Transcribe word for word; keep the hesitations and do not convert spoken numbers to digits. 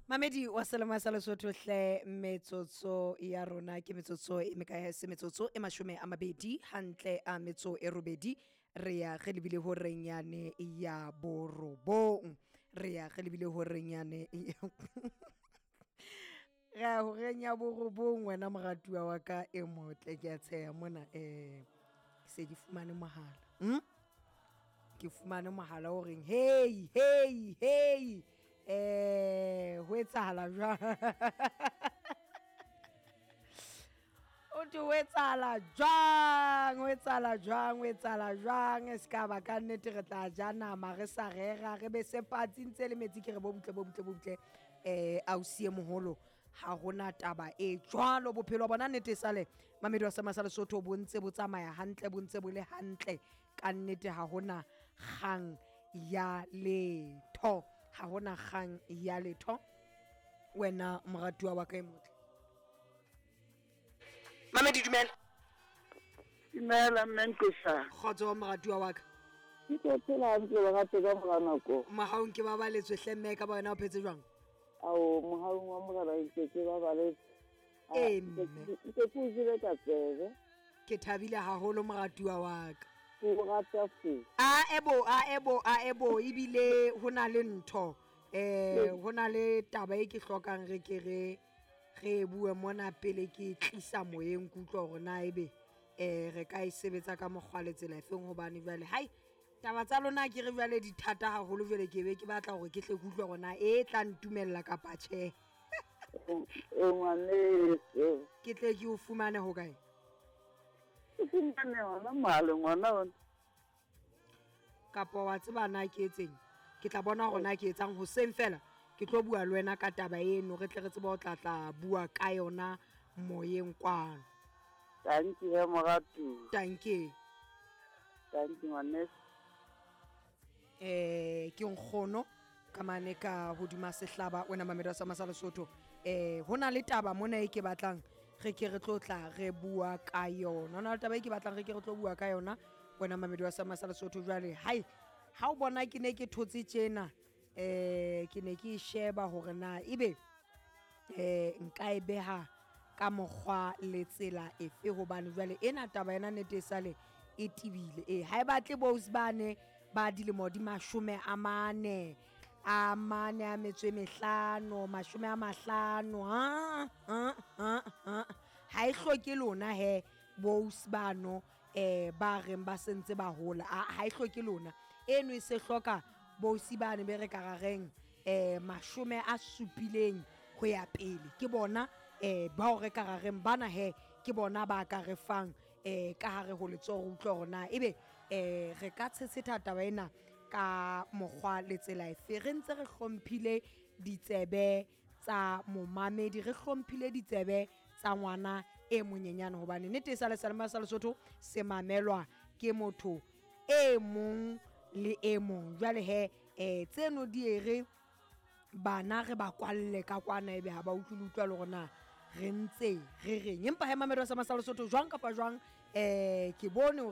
Mamedi wa selemo sa Lesotho hle, metsotso ya rona ke metsotso e mekae? Se metsotso e mashome a mabedi hantle a metso e robedi, re ya re lebile horeng yane ya borobong, re ya re lebile horeng yane ya re ya horeng ya borobong. Wena moratuwa wa ka e motle, ke a tsheha mona, um ke se ke fumane mohala, hm ke fumane mohala o reng hei hei hei, eh ho etsahala jwang? O thwe ho etsahala jwang, ho etsahala jwang, ho etsahala jwang? E se ka ba ka nnete re tla ja nama re sa rera, re be se patsi ntse le metsi. Ke re bo butle bo butle bo butle, eh ausi e moholo, ha hona taba e jwalo. Bophelo bona nnete sale mamedi wa sama sa Lesotho bo ntse bo tsamaya hantle, bo ntse bo le hantle ka nnete. Ha hona kgang ya letho, ha hona kgang ya letho. Wena moratuwa wa ka e motle, mamedi, dumela. Dumela mme Nqesa. Kgotso moratuwa wa ka. Ke tlo phela hantle lerato ka mora nako. Mohaung ke babaletswe hle mme, ka ba wena o phetse jwang? Ao, mohaung wa morena ntse ke babaletse. Ee mme. Ntse ke o jele ka tsebe. Ke thabile haholo moratuwa wa ka. Ke o rata se. A ebo, a ebo, a ebo, ebile ho na le ntho, eh ho na le taba e ke hlokang re ke re re bue mona pele ke tlisa moyeng, ke utlwa hore na ebe eh re ka e sebetsa ka mokgwa le tsela efeng, hobane jwale hai taba tsa lona ke re jwale di thata haholo. Jwale ke be ke batla hore ke tle ke utlwe hore na e tla ntumella kapa tjhe. E ngwaneso. Ke tle ke o fumane ho kae? Ke fumane hona mohaleng hona hona. Kapa wa tseba na ke etseng? Ke tla bona hore na ke etsang hoseng fela. Ke tlo bua le wena ka taba eno, re tle re tsebe ho tla tla bua ka yona moyeng kwano. Tanki he moratuwa. Tanki. Tanki ngwaneso. Eh ke nkgono ka mane ka hodima sehlaba, wena mamedi wa sama sa Lesotho. Eh hona le taba mona e ke batlang re ke re tlo tla re bua ka yona. Hona le taba e ke batlang re ke re tlo bua ka yona, wena mamedi wa sama sa Lesotho. Jwale hai ha o bona ke ne ke thotse tjena, eh ke ne ke sheba hore na ebe eh nka e beha ka mokgwa le tsela efe, hobane jwale ena taba ena nnete e sale e tibile. Eh ha e batle bo bane ba dilemo di mashome a mane a mane a metso e mehlano, mashome a mahlano, ha ha ha ha ha e hloke lona he bo bano eh ba reng ba sentse ba hola, ha e hloke lona eno, e se hloka bo bane be re ka reng eh mashome a supileng ho ya pele. Ke bona eh bao re ka reng bana he ke bona ba ka re fang eh ka hare ho letsoho, utlwa hore na ebe eh re ka tshetsheta taba ena ka mokgwa le tsela efe, re ntse re hlomphile ditsebe tsa momamedi, re hlomphile ditsebe tsa ngwana e monyenyane, hobane nnete e sa le selema sa Lesotho se mamelwa ke motho e mong le e mong. Jwale he eh tseno di e re bana re ba kwalle ka kwana, ebe ha ba utlwe le utlwa le hore na re ntse re reng. Empa he mamedi wa sama sa Lesotho, jwang kapa jwang, eh ke bone hore